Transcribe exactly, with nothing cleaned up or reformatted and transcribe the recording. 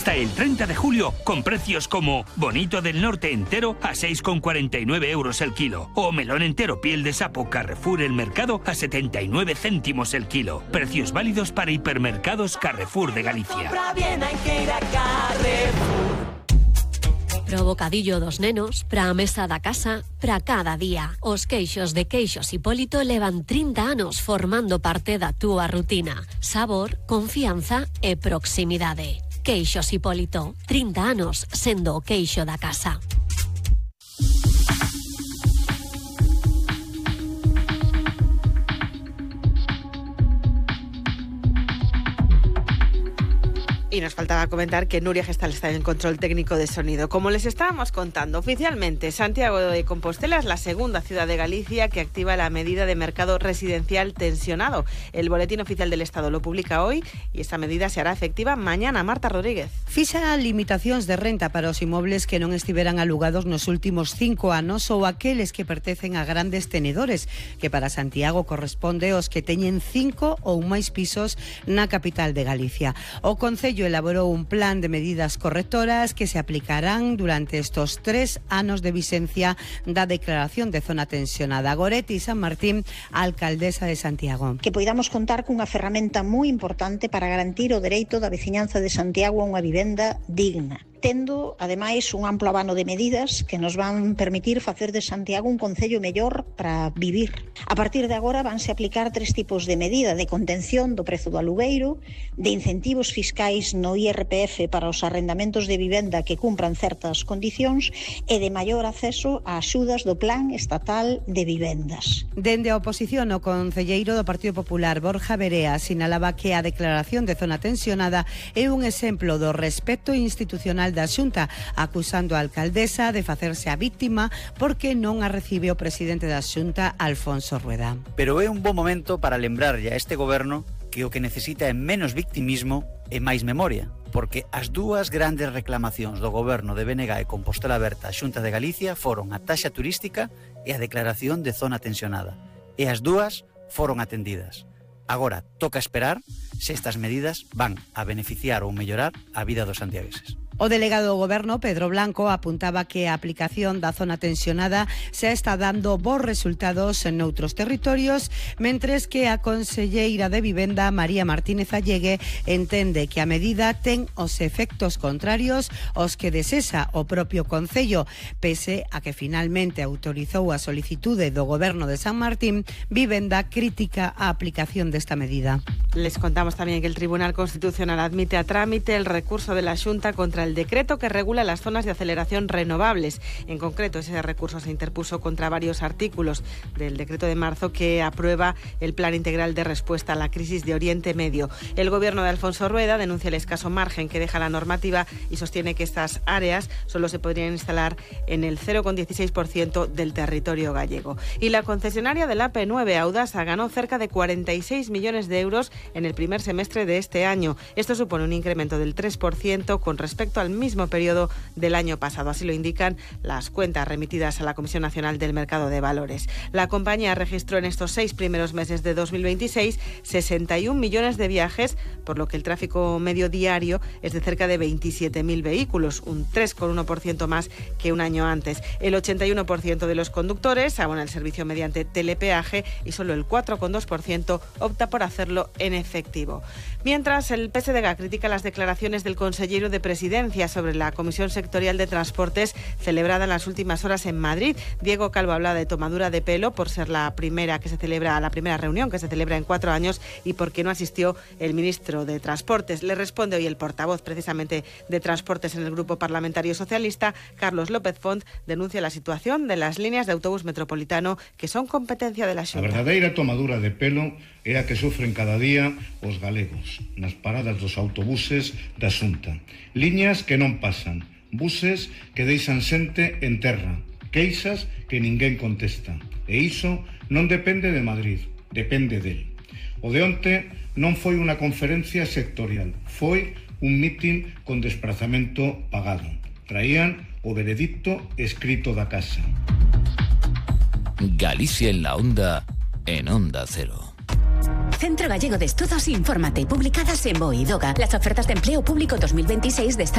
Hasta el treinta de julio, con precios como bonito del norte entero a seis con cuarenta y nueve euros el kilo o melón entero piel de sapo Carrefour El Mercado a setenta y nueve céntimos el kilo. Precios válidos para hipermercados Carrefour de Galicia. Pro bocadillo dos nenos, pra mesa da casa, pra cada día. Os queixos de Queixos Hipólito levan trinta anos formando parte da túa rutina. Sabor, confianza e proximidade. Queixos Hipólito, trinta anos sendo o queixo da casa. Y nos faltaba comentar que Nuria Gestal está en el control técnico de sonido. Como les estábamos contando, oficialmente Santiago de Compostela es la segunda ciudad de Galicia que activa la medida de mercado residencial tensionado. El Boletín Oficial del Estado lo publica hoy y esta medida se hará efectiva mañana. Marta Rodríguez. Fixa limitacións de renta para os inmobles que non estiveran alugados nos últimos cinco anos ou aqueles que pertencen a grandes tenedores, que para Santiago corresponde aos que teñen cinco ou máis pisos na capital de Galicia. O Concello elaborou un plan de medidas correctoras que se aplicarán durante estos tres anos de vigencia da declaración de zona tensionada. Goretti San Martín, alcaldesa de Santiago. Que poidamos contar cunha ferramenta moi importante para garantir o dereito da veciñanza de Santiago a unha vivenda digna, tendo, ademais, un amplo abano de medidas que nos van permitir facer de Santiago un concello mellor para vivir. A partir de agora vanse aplicar tres tipos de medida: de contención do prezo do alugueiro, de incentivos fiscais no I R P F para os arrendamentos de vivenda que cumpran certas condicións e de maior acceso a axudas do Plan Estatal de Vivendas. Dende a oposición, o concelleiro do Partido Popular, Borja Verea, sinalaba que a declaración de zona tensionada é un exemplo do respeto institucional da Xunta, acusando a alcaldesa de facerse a víctima porque non a recibe o presidente da Xunta, Alfonso Rueda. Pero é un bo momento para lembrarlle a este goberno que o que necesita é menos victimismo e máis memoria, porque as dúas grandes reclamacións do goberno de B N G e Compostela Aberta á Xunta de Galicia foron a taxa turística e a declaración de zona tensionada, e as dúas foron atendidas. Agora toca esperar se estas medidas van a beneficiar ou mellorar a vida dos santiagueses. O delegado do Goberno, Pedro Blanco, apuntaba que a aplicación da zona tensionada se está dando bons resultados en outros territorios, mentres que a conselleira de Vivenda, María Martínez Allegue, entende que a medida ten os efectos contrarios aos que desesa o propio Concello, pese a que finalmente autorizou a solicitude do Goberno de San Martín. Vivenda critica a aplicación desta medida. Les contamos también que el Tribunal Constitucional admite a trámite el recurso de la Xunta contra el decreto que regula las zonas de aceleración renovables. En concreto, ese recurso se interpuso contra varios artículos del decreto de marzo que aprueba el Plan Integral de Respuesta a la Crisis de Oriente Medio. El gobierno de Alfonso Rueda denuncia el escaso margen que deja la normativa y sostiene que estas áreas solo se podrían instalar en el cero coma dieciséis por ciento del territorio gallego. Y la concesionaria del A P nueve, Audasa, ganó cerca de cuarenta y seis millones de euros en el primer semestre de este año. Esto supone un incremento del tres por ciento con respecto al mismo periodo del año pasado. Así lo indican las cuentas remitidas a la Comisión Nacional del Mercado de Valores. La compañía registró en estos seis primeros meses de dos mil veintiséis sesenta y un millones de viajes, por lo que el tráfico medio diario es de cerca de veintisiete mil vehículos, un tres coma uno por ciento más que un año antes. El ochenta y uno por ciento de los conductores abona el servicio mediante telepeaje y solo el cuatro coma dos por ciento opta por hacerlo en efectivo. Mientras, el P S D G critica las declaraciones del consejero de Presidencia sobre la Comisión Sectorial de Transportes celebrada en las últimas horas en Madrid. Diego Calvo habla de tomadura de pelo por ser la primera que se celebra, la primera reunión que se celebra en cuatro años y porque no asistió el ministro de Transportes. Le responde hoy el portavoz precisamente de Transportes en el Grupo Parlamentario Socialista, Carlos López Font, denuncia la situación de las líneas de autobús metropolitano que son competencia de la Xunta. A verdadeira tomadura de pelo é a que sofren cada día os galegos nas paradas dos autobuses da Xunta. Liñas que non pasan, buses que deixan xente en terra, queixas que ninguén contesta. E iso non depende de Madrid, depende del. O de onte non foi unha conferencia sectorial, foi un mitin con desprazamento pagado. Traían o veredicto escrito da casa. Galicia en la onda, en Onda Cero. Centro Gallego de Estudos, infórmate, publicadas en Boidoga. Las ofertas de empleo público dos mil veintiséis de